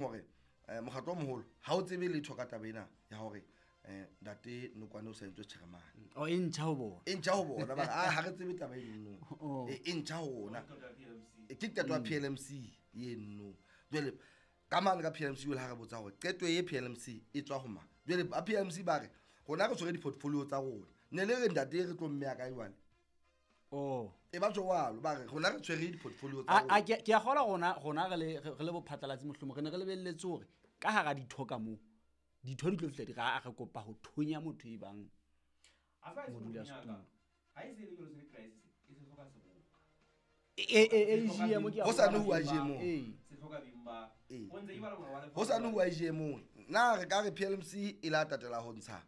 Hore mokgatlo o moholo ha o tsebe letho ka taba ena ya hore ntate Nokwane o sa entswe chairman. O e ntjha ho bona. E ntjha ho bona ba re ha re tsebe taba eno. Oh. E ntjha ho rona. Ke qeto ya PLMC eno. Jwale ka mane ka PLMC o le ha re botsa hore qeto e PLMC e tswa ho mang. Jwale ba PLMC ba re rona re tshwere di-portfolio tsa rona. Ne le re ntate re tlo mmeya kae jwale? Oh. E ba jwalo ba re rona re tshwere di-portfolio tsa A rona. ke a kgolwa rona re le bophatlalatsi mohlomong re ne re lebelletse hore ka hara ditho ka moo ditho di tlo fihla di re a re kopa ho thonya motho e bang modula setulo. Ha e se le jwalo se le crisis e se hloka seboka. AGM ke a Ho sa bona ne ho beng ba- AGM. Ee. Se hloka beng ba. Ee. O ntse e bala molao wa Ho sa ne lefapha. ho AGM. Na re ka re PLMC e la tatela ho ntsha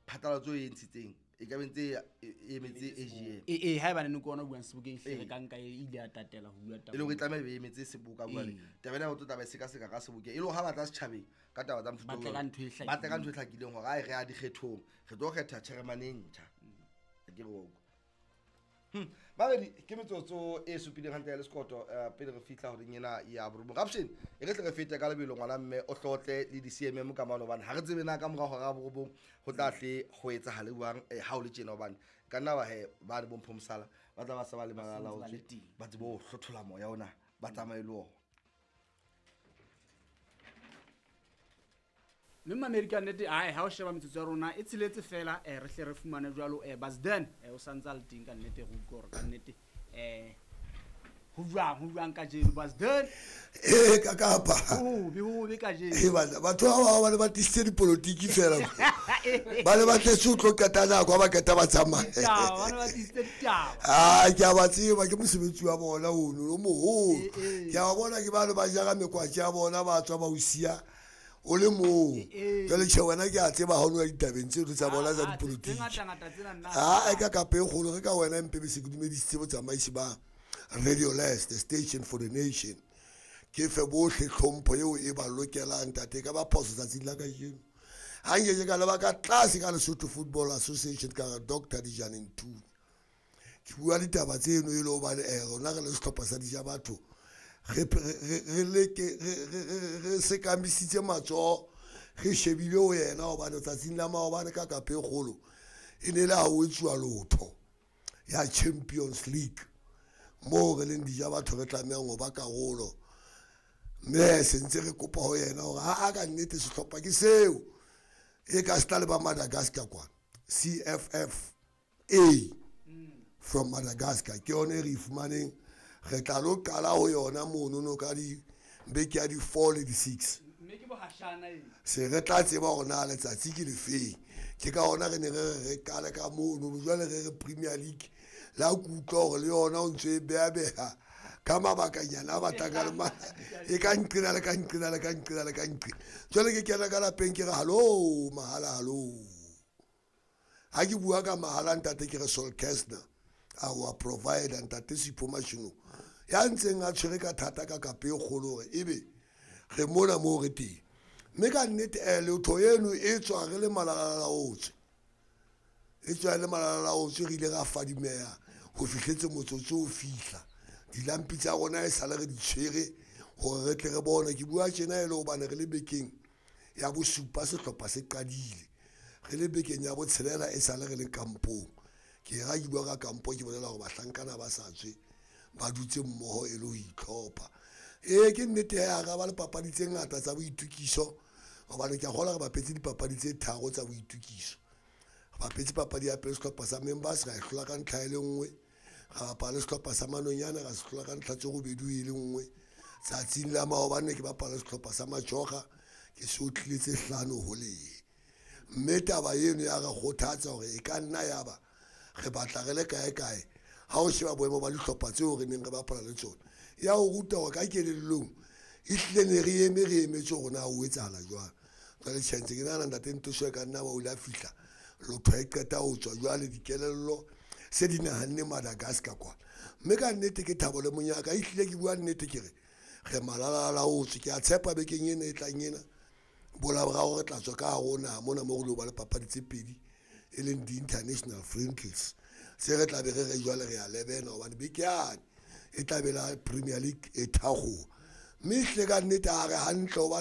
phatlalatso e ntshitseng e ka be ntse e emetse AGM. Ee, haeba ne ke ona o buang sebokeng hle re Ee. ka nka e ile ya tatela ho bua taba. E le hore e tlameha e be emetse seboka jwale. Ee. Taba ena o tlo taba e sekaseka ka sebokeng. E le hore ha ba tla setjhabeng ka taba tsa mofuta Ba tle o ka jwalo, ntho e hlakileng. ba tle ka ntho e hlakileng hore ae re ya dikgethong, re tlo kgetha chairman e ntjha. Ke re wa utlwa. Babedi ke metsotso e supileng hantle ya lesekoto pele re fihla horeng ena ya borobong. Rapshen e re tle re fete ka lebelo ngwana mme o hlotle le di-C_M_M ka mane hobane ha re tsebe na ka mora hora ya borobong ho tla hle ho etsahale jwang ha o le tjena hobane ka nna ba he ba le bompho mosala ba tla ba sa ba le Ba sentse ba malalaotswe le teng. ba tsebe ho hlothola moya ona ba tsamaye le ona. Mme mamedi ka nnete ai ha o sheba metsotso ya rona e tsheletse fela re hle re fumane jwalo Basden o santse a le teng ka nnete re utlwe hore ka nnete ho jwang kajeno Basden. Ee ka kapa. Ho be kajeno. Ee bana batho ba bang ba ne ba tlisitse dipolotiki fela. Ba ne ba tletse ho tlo qeta nako ha ba qeta ba tsamaya. Ditaba, ba ne ba tlisitse ditaba. Ah, ke a ba tseba ke mosebetsi wa bona ono o moholo. Ee. Ke a ba bona ke ba le ba jara mekwatsi ya bona ba tswa ba o siya o le mong. Ee. Jwale tjhe wena ke a tseba ha o no ya ditabeng tseno tsa bona tsa Ah, tse dipolotiki. ngata-ngata tsena nna. Ah, e ka kapa e kgolo re ka wena mpe be se ke dumedisitse botsamaisi ba Radio Leste, the station for the nation. Ke fe bohle tlhompho eo e ba lokelang ntate ka ba phoso tsatsing la kajeno. Ha nke ke ka leba ka tlase ka Lesotho Football Association ka re Doctor Dijane Ntuli. Ke bua ditaba tseno e le hobane rona re le sehlopha sa Dija Batho re leke re sekamisitse matsoho re shebile ho yena hobane tsatsing la maobane ka kapa e kgolo e ne le ha ho etsuwa lotho ya Champions League moo re leng Dija Batho re tlamehang ho ba karolo. Mme se ntse re kopa ho yena hore ha a ka nnete sehlopha ke seo e ka se tla le ba Madagascar kwana CFFA from Madagascar ke yona e re e fumaneng. Re tla lo qala ho yona mono no ka di beke ya di 4 le di 6. Mme ke bohashana e. Se re tla tseba hore na letsatsi ke lefeng. Ke ka hona re ne re re qale ka mono jwale re re Premier League la kutlwa hore le yona o ntse e beha-beha ka mabakanyana a batlang ka le e ka nqena le ka nqena le ka nqena le ka nqena. Jwale ke kena ka lapeng ke re hallo mahala hallo. Ha ke bua ka mahala ntate ke re Sol Kestner our provider ntate Sipho Mashino ya ntseng a tshwere ka thata ka kapa e kgolo hore ebe re mona moo re teng. Mme ka nnete lotho eno e tswa re le malalalaotswe. E tswa le malalalaotswe re ile ra fadimeha ho fihletse motsotso o fihla. Dilampi tsa rona e sale re di tshwere hore re tle re bone. Ke bua tjena e le hobane re le bekeng ya bosupa sehlopha se qadile. Re le bekeng ya botshelela e sale re le kampong. Ke ra ke bua ka kampo ke bolela hore bahlankana ba sa tswe ba dutse mmoho e le ho itlhopha. Ee ke nnete ya ra ba le papadi tse ngata tsa boitukiso hobane ke a kgolwa re bapetse dipapadi tse tharo tsa boitukiso. Re bapetse papadi ya pele sehlopha sa Members ra e hlola ka ntlha e le nngwe. Ra bapala le sehlopha sa Manonyane ra se hlola ka ntlha tse robedi e le nngwe. Tsatsing la maobane ke bapala sehlopha sa Majoga ke se otlile tse 5 ho lehe. Mme taba eno ya re kgothatsa hore e ka nna ya ba re batla re le kae kae ha o sheba boemo ba dihlopha tseo re neng re bapala le tsona. Ya o ruta hore ka kelellong e hlile ne re eme re emetse hore na ho etsahala jwang. Jwale tjhe ntse ke nahana ntate Ntoso e ka nna ba o ile a fihla lotho e qeta ho tswa jwale dikelello se di nahanne Madagascar kwana. Mme ka nnete ke thabo le monyaka e hlile ke bua nnete ke re re malalalaotswe. Ke a tshepa bekeng ena e tlang ena bolaboraro re tla tswa ka hare ho naha mona moo re lo ba le papadi tse pedi e leng di-international friendlies. Se re tla be re re jwale re a lebena hobane beke yane e tla be la Premier League e thakgoha. Mme ehlile ka nnete ha re hantle hobane